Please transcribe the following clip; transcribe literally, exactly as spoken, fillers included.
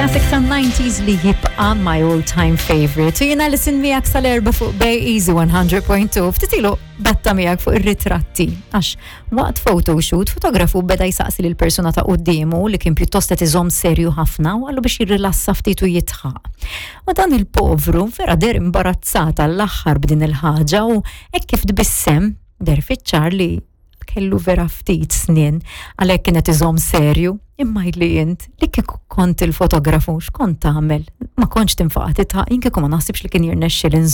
Classic tan-nineties li jibqa' my all-time favorite. U jiena Alison miegħek sal-erbgħa fuq Bay Easy one hundred point two. Ftit ilu batta miegħek fuq ir-ritratti. Għax waqt photoshoot, fotografu beda jsaqsi lil persuna ta' quddiemu li kien pjuttost qed iżomm serju ħafna u qallu biex jirrilassa ftit u jidħaq. U dan il-povru vera deher imbarazzat għall-aħħar b'din il-ħaġa u hekk kif tbissem deher fiċ-ċar li kellu vera ftit snien, għalhekk kienet iżomm serju. Imma li int li kieku kont il-fotografu, x'kont tagħmel? Ma kontx tinfaqa' tidħaq? Jien kieku ma naħsibx li kien jirnexxi.